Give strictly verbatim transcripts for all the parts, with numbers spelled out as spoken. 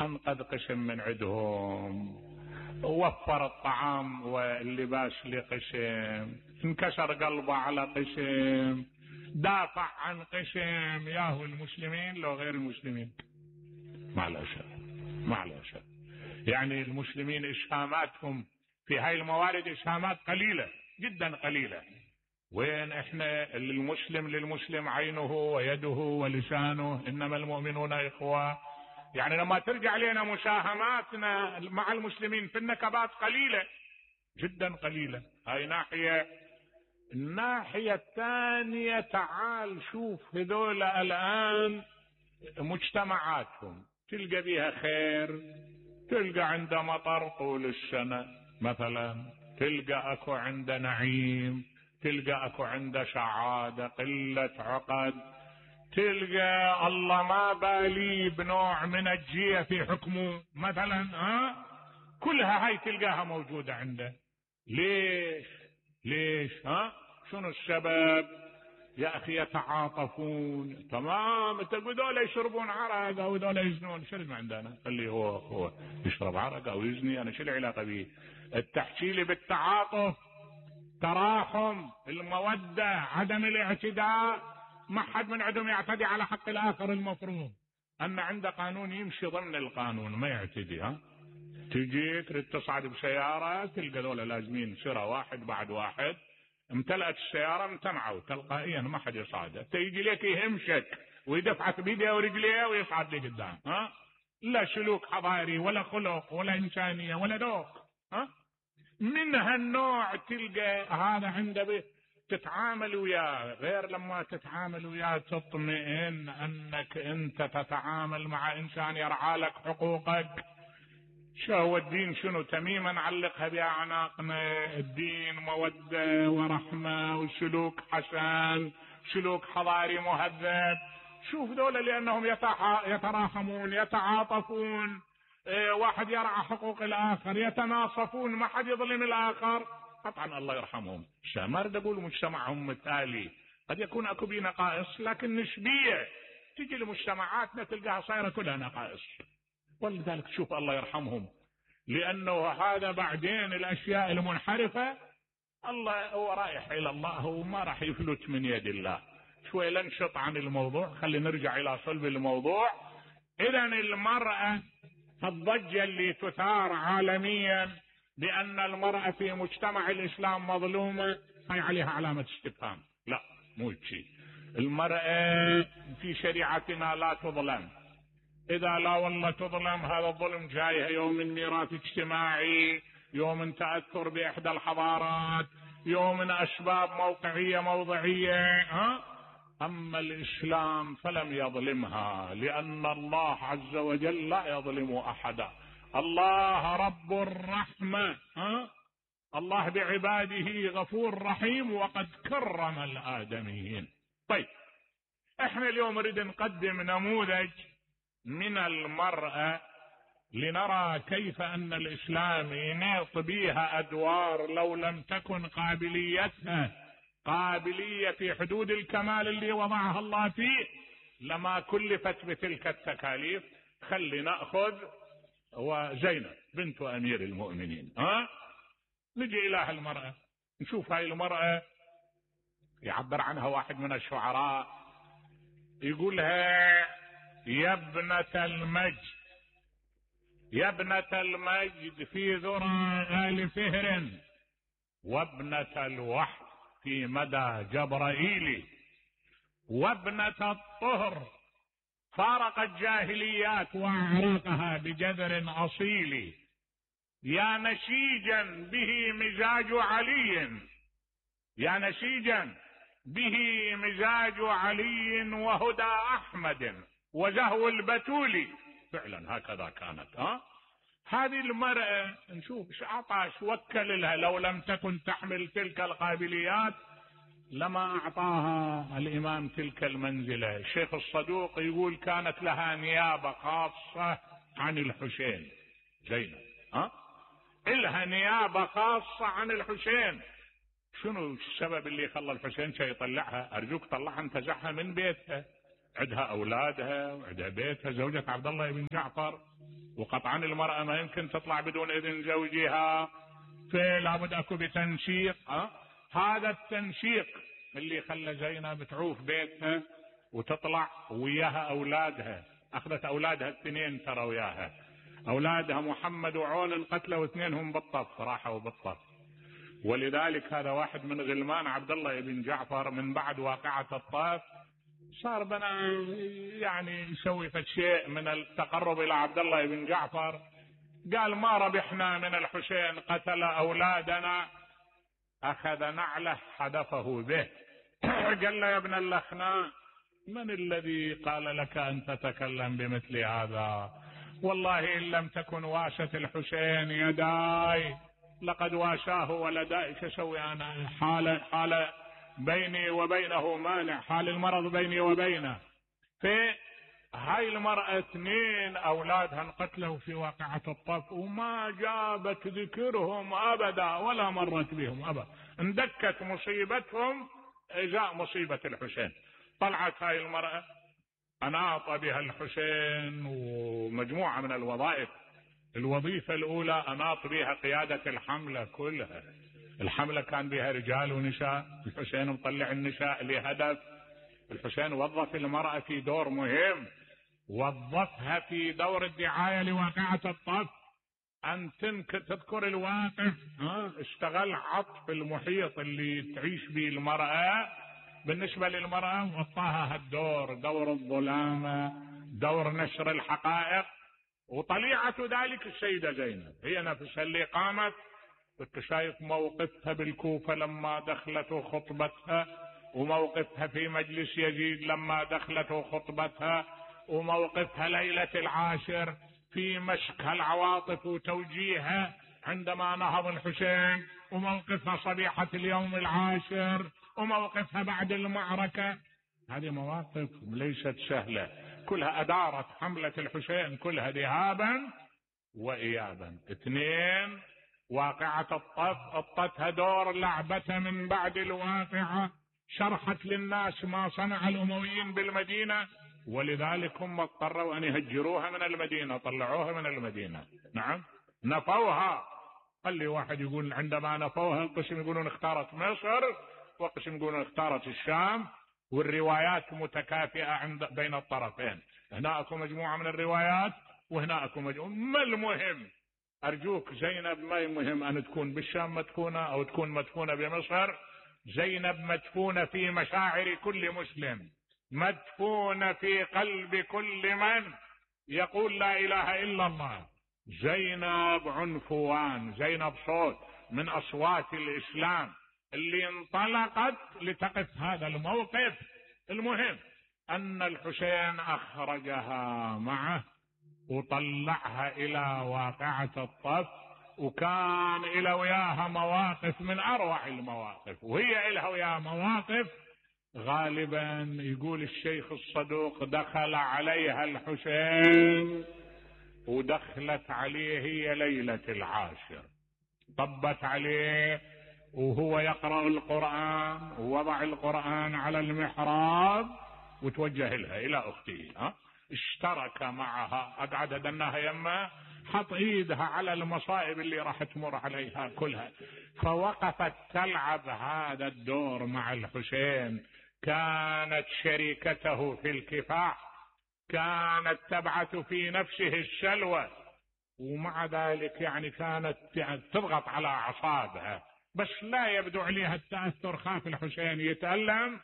انقذ قشم من عندهم، وفر الطعام واللباس لقشم، انكسر قلبه على قشم، دافع عن قشم. ياهو المسلمين لو غير المسلمين معلش معلش يعني المسلمين اسهاماتهم في هاي الموارد اسهامات قليلة جدا قليلة. وين احنا المسلم للمسلم عينه ويده ولسانه، انما المؤمنون اخوة. يعني لما ترجع لنا مساهماتنا مع المسلمين في النكبات قليلة جدا قليلة. هاي ناحية. الناحية الثانية تعال شوف هذول الآن مجتمعاتهم تلقى بيها خير، تلقى عند مطر طول السنة مثلا، تلقى اكو عند نعيم، تلقى اكو عند سعادة قلة عقد، تلقى الله ما بالي بنوع من الجية في حكمه مثلا. ها كلها هاي تلقاها موجودة عنده. ليش ليش ها شنو السبب؟ يا اخي يتعاطفون. تمام، تقول دول يشربون عرق او دول يزنون، شو اللي عندنا؟ خليه هو هو يشرب عرق او يزني، انا شو العلاقه به؟ التحكي لي بالتعاطف، تراحم، الموده، عدم الاعتداء. ما حد من عندهم يعتدي على حق الاخر. المفروض ان عنده قانون يمشي ضمن القانون ما يعتدي. ها تجي تريد تصعد بسياره تلقى دول لازمين سرة واحد بعد واحد، امتلأت السيارة امتنعوا تلقائيا ما حد يصعد. تيجي لك يهمشك ويدفعك بيده ورجليه ويصعد لي قدام. ها لا سلوك حضاري ولا خلق ولا إنسانية ولا ذوق. ها من هالنوع تلقى هذا عنده تتعامل وياه. غير لما تتعامل وياه تطمئن انك انت تتعامل مع انسان يرعى لك حقوقك. شو هو الدين؟ شنو تميما علقها بأعناقنا. الدين مودة ورحمة وسلوك حسن، سلوك حضاري مهذب. شوف دولة لأنهم يتراحمون يتعاطفون، اه واحد يرعى حقوق الآخر، يتناصفون، ما حد يظلم الآخر. قطعا الله يرحمهم. ما اريد اقول مجتمعهم مثالي، قد يكون اكو بيه نقائص لكن نسبية. تجي لمجتمعاتنا تلقاها صايرة كلها نقائص، ولذلك شوف الله يرحمهم. لأنه هذا بعدين الأشياء المنحرفة الله هو رايح إلى الله وما راح يفلت من يد الله. شوي لنشط عن الموضوع، خلي نرجع إلى صلب الموضوع. إذا المرأة الضجة اللي تثار عالميا بأن المرأة في مجتمع الإسلام مظلومة، هاي عليها علامة استفهام. لا مو شيء. المرأة في شريعتنا لا تظلم. إذا لا والله تظلم، هذا الظلم جايها يوم من ميراث اجتماعي، يوم من تأثر بإحدى الحضارات، يوم من أسباب موقعية موضعية. ها؟ أما الإسلام فلم يظلمها، لأن الله عز وجل لا يظلم أحدا. الله رب الرحمة. ها؟ الله بعباده غفور رحيم وقد كرم الآدميين. طيب احنا اليوم نريد نقدم نموذج من المرأة لنرى كيف أن الإسلام يناط بها أدوار لو لم تكن قابليتها قابلية في حدود الكمال اللي وضعها الله فيه لما كلفت بتلك التكاليف. خلي نأخذ وزينب بنت أمير المؤمنين. ها نجي إلى المرأة نشوف هاي المرأة. يعبر عنها واحد من الشعراء يقولها يا ابنة المجد، يا ابنة المجد في ذرى آل فهر، وابنة الوحي في مدى جبرائيل، وابنة الطهر فارقت جاهليات وأعراقها بجذر أصيل، يا نسيجا به مزاج علي، يا نسيجا به مزاج علي وهدى أحمد وزهو البتول. فعلا هكذا كانت. ها هذه المرأة نشوف ايش اعطى، ايش وكل لها. لو لم تكن تحمل تلك القابليات لما اعطاها الامام تلك المنزلة. الشيخ الصدوق يقول كانت لها نيابة خاصة عن الحسين زينب. ها إلها نيابة خاصة عن الحسين. شنو السبب اللي خلى الحسين شي يطلعها؟ ارجوك طلعها انتزعها من بيتها، عندها اولادها وعندها بيتها، زوجة عبد الله بن جعفر، وقطعا المرأة ما يمكن تطلع بدون إذن زوجها، فلا بد أكو بتنشيق. أه؟ هذا التنشيق اللي خلى زينب تعوف بيتها وتطلع وياها أولادها. أخذت أولادها الاثنين ترى وياها، أولادها محمد وعون انقتلوا واثنينهم بالطف، راحوا بالطف. ولذلك هذا واحد من غلمان عبد الله بن جعفر من بعد واقعة الطف صار بنا يعني يسوي فشيء من التقرب إلى عبد الله بن جعفر. قال ما ربحنا من الحسين، قتل أولادنا، أخذ نعله حدفه به. قال له يا ابن اللخناء من الذي قال لك أن تتكلم بمثل هذا؟ والله إن لم تكن واشت الحسين يداي لقد واشاه ولداي. شسوي أنا؟ حال حال بيني وبينه مانع، حال المرض بيني وبينه. في هاي المرأة اثنين أولادها انقتلوا في واقعة الطف وما جابت ذكرهم أبدا ولا مرت بهم أبدا. اندكت مصيبتهم إجاء مصيبة الحسين. طلعت هاي المرأة أناط بها الحسين ومجموعة من الوظائف. الوظيفة الأولى أناط بها قيادة الحملة كلها. الحملة كان بها رجال ونساء، الحسين مطلع النساء لهدف. الحسين وظف المرأة في دور مهم، وظفها في دور الدعاية لواقعة الطف. أن تذكر الواقع، اشتغل عطف المحيط اللي تعيش به المرأة بالنسبة للمرأة، وطاها هالدور، دور الظلامة، دور نشر الحقائق. وطليعة ذلك السيدة زينب هي نفسها اللي قامت. كنت شايف موقفها بالكوفة لما دخلت خطبتها، وموقفها في مجلس يزيد لما دخلت خطبتها، وموقفها ليلة العاشر في مشك العواطف وتوجيهها عندما نهض الحسين، وموقفها صبيحة اليوم العاشر، وموقفها بعد المعركة. هذه مواقف ليست سهلة، كلها أدارت حملة الحسين كلها ذهابا وإيابا. اثنين، واقعة الطف أطتها دور لعبتها من بعد الواقعة، شرحت للناس ما صنع الأمويين بالمدينة، ولذلك هم اضطروا أن يهجروها من المدينة، طلعوها من المدينة. نعم، نفوها. خلي واحد يقول عندما نفوها قسم يقولون اختارت مصر وقسم يقولون اختارت الشام، والروايات متكافئة عند بين الطرفين. هنا اكو مجموعة من الروايات وهنا اكو مجموعة. ما المهم؟ ارجوك زينب ما مهم ان تكون بالشام مدفونة او تكون مدفونة بمصر. زينب مدفونة في مشاعر كل مسلم، مدفونة في قلب كل من يقول لا اله الا الله. زينب عنفوان، زينب صوت من اصوات الاسلام اللي انطلقت لتقف هذا الموقف. المهم ان الحسين اخرجها معه وطلعها الى واقعة الطف، وكان الى وياها مواقف من اروع المواقف، وهي الها وياها مواقف غالبا يقول الشيخ الصدوق دخل عليها الحسين ودخلت عليه هي ليلة العاشر، طبت عليه وهو يقرأ القرآن، ووضع القرآن على المحراب وتوجه لها إلى أخته. ها؟ اشترك معها، أقعد دناها يمه، حط ايدها على المصائب اللي راح تمر عليها كلها، فوقفت تلعب هذا الدور مع الحسين. كانت شريكته في الكفاح، كانت تبعث في نفسه السلوى، ومع ذلك يعني كانت تضغط على أعصابها، بس لا يبدو عليها التأثر. خاف الحسين يتألم.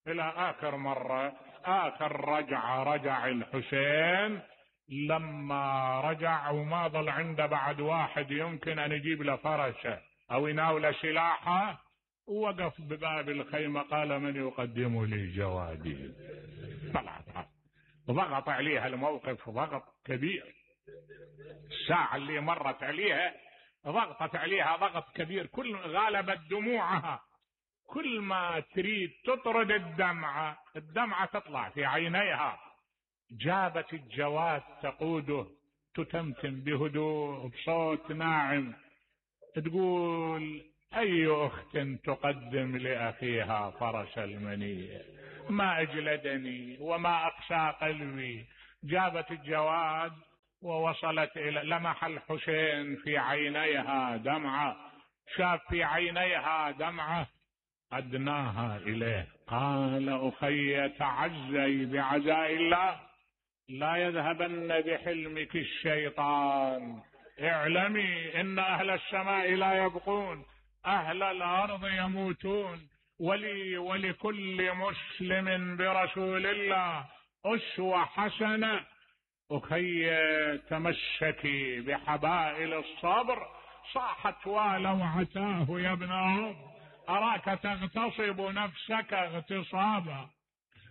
إلى آخر مرة، آخر رجع رجع الحسين لما رجع وما ظل عنده بعد واحد يمكن أن يجيب له فرشه أو يناول سلاحه، ووقف بباب الخيمة قال من يقدم لي جوادي. طلعت ضغط عليها الموقف ضغط كبير. الساعة اللي مرت عليها ضغطت عليها ضغط كبير، كل غالبت دموعها، كل ما تريد تطرد الدمعة الدمعة تطلع في عينيها. جابت الجواد تقوده تتمتم بهدوء بصوت ناعم تقول أي أخت تقدم لأخيها فرش المنية، ما أجلدني وما أقسى قلبي. جابت الجواد ووصلت إلى لمح الحسين في عينيها دمعة، شاف في عينيها دمعة أدناها إليه، قال أخي تعزي بعزاء الله، لا يذهبن بحلمك الشيطان، اعلمي إن أهل السماء لا يبقون، أهل الأرض يموتون، ولي ولكل مسلم برسول الله أسوة حسنة. أخي تمسكي بحبائل الصبر. صاحت ولوعتاه يا ابن أم، أراك تغتصب نفسك اغتصابا.